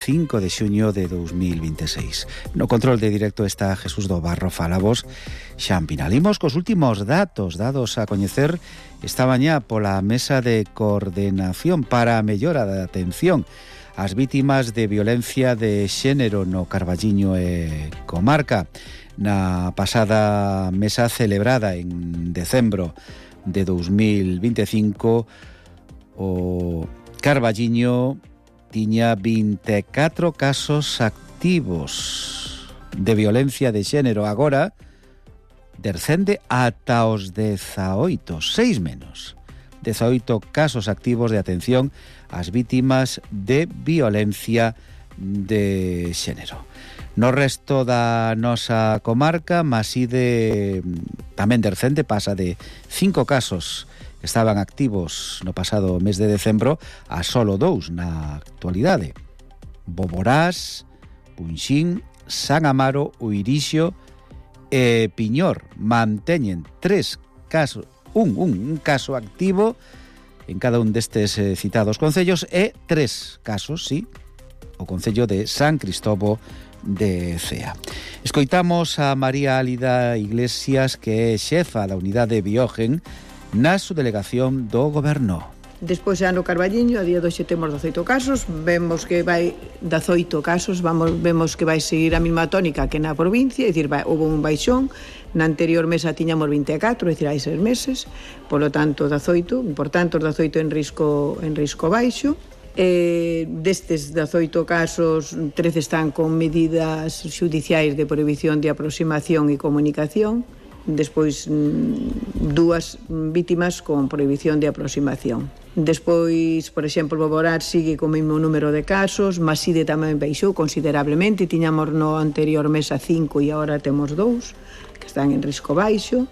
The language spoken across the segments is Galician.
5 de xuño de 2026. No control de directo está Jesús do Barro. Falamos xa Imos cos últimos datos dados a coñecer esta mañá pola Mesa de Coordinación para a Mellora da Atención ás vítimas de violencia de xénero no Carballiño e comarca. Na pasada mesa celebrada en decembro de 2025, o Carballiño tiña 24 casos activos de violencia de xénero. Agora descende ata os 18, 6 menos. 18 casos activos de atención ás vítimas de violencia de xénero. No resto da nosa comarca, Maside tamén descende, pasa de 5 casos que estaban activos no pasado mes de decembro a solo 2 na actualidade. Boborás, Punxín, San Amaro, Uirixo e Piñor manteñen 3 casos, un caso activo en cada un destes citados concellos e 3 casos, sí, o concello de San Cristobo de Cea. Escoitamos a María Álida Iglesias, que é xefa da unidade Biogen na subdelegación do Goberno. Despois xa no Carballiño, a día de hoxe temos 18 casos, vemos que vai 18 casos, vemos que vai seguir a mesma tónica que na provincia, é dicir, houve un baixón, na anterior mesa tiñamos 24, é dicir, hai 6 meses, polo tanto 18, importante, os 18 en risco baixo. Destes 18 casos, 13 están con medidas xudiciais de prohibición de aproximación e comunicación. Despois 2 vítimas con prohibición de aproximación. Despois, por exemplo, Boborás sigue co mesmo número de casos, Maside tamén baixou considerablemente, tiñamos no anterior mesa 5 e agora temos 2 que están en risco baixo.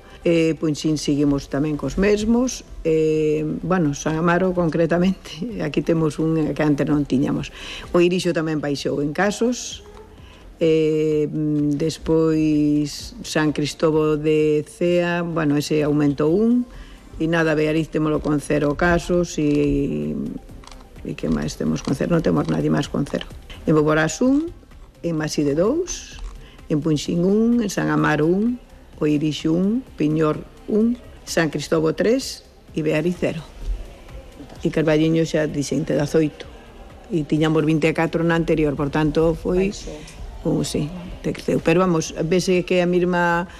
Punxín seguimos tamén cos mesmos. San Amaro concretamente, aquí temos un que antes non tiñamos. O Irixo tamén baixou en casos. Despois San Cristobo de Cea, ese aumentou 1, e nada, Beariz temolo con 0 casos, e que máis temos con 0? Non temos nadie máis con 0. En Boborás 1, en Maside 2, en Punxín 1, en San Amaro 1, o Irixo 1, Piñor 1, San Cristobo 3 e Beariz 0. E Carballiño xa dixente 18, e tiñamos 24 na anterior, por tanto foi... sí, pero vamos, vese que é a mesma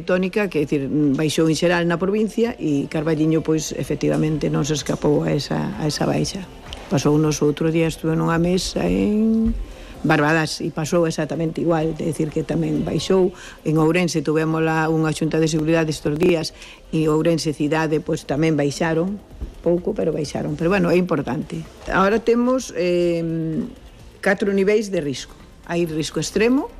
tónica, que é dicir, baixou en xeral na provincia, e Carballiño, pois, efectivamente, non se escapou a esa baixa. Pasou unos outro día, estuve nunha mesa en Barbadas e pasou exactamente igual, é dicir, que tamén baixou. En Ourense tuvemos unha xunta de seguridade estes días, e Ourense cidade, pois, tamén baixaron, pouco, pero baixaron. Pero, é importante. Agora temos 4 niveis de risco. Hai risco extremo,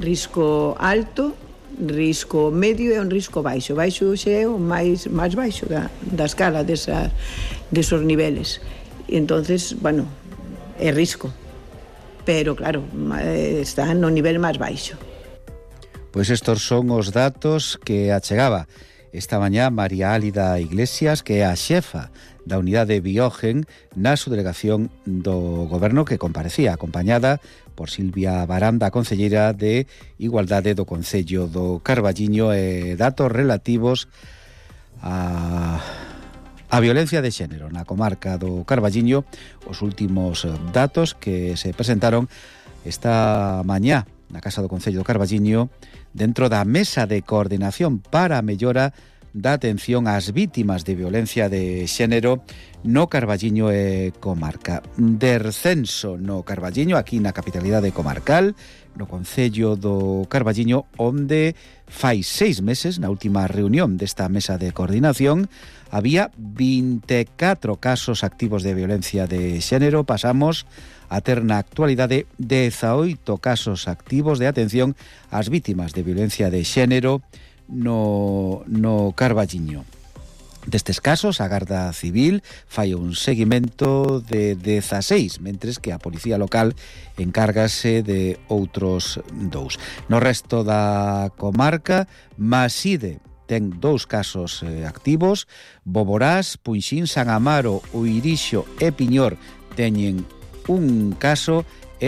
risco alto, risco medio e un risco baixo. Baixo xe é o máis baixo da escala desos niveles. E entonces, é risco. Pero, claro, está no nivel máis baixo. Pois estos son os datos que achegaba esta mañá María Álida Iglesias, que é a xefa da unidade Biogen na subdelegación do Goberno, que comparecía acompañada por Silvia Baranda, concelleira de Igualdade do Concello do Carballiño, e datos relativos a violencia de xénero na comarca do Carballiño. Os últimos datos que se presentaron esta mañá na Casa do Concello do Carballiño dentro da Mesa de Coordinación para a Mellora da Atención ás Vítimas de Violencia de Xénero no Carballiño e comarca. Descenso no Carballiño, aquí na capitalidade comarcal, no Concello do Carballiño, onde fai 6 meses, na última reunión desta Mesa de Coordinación, había 24 casos activos de violencia de xénero. Pasamos a ter na actualidade 18 casos activos de atención ás vítimas de violencia de xénero no Carballiño. Destes casos, a Garda Civil fai un seguimento de 16, mentres que a Policía Local encárgase de outros 2. No resto da comarca, Maside ten 2 casos activos, Boborás, Punxín, San Amaro, Uirixo e Piñor teñen un caso,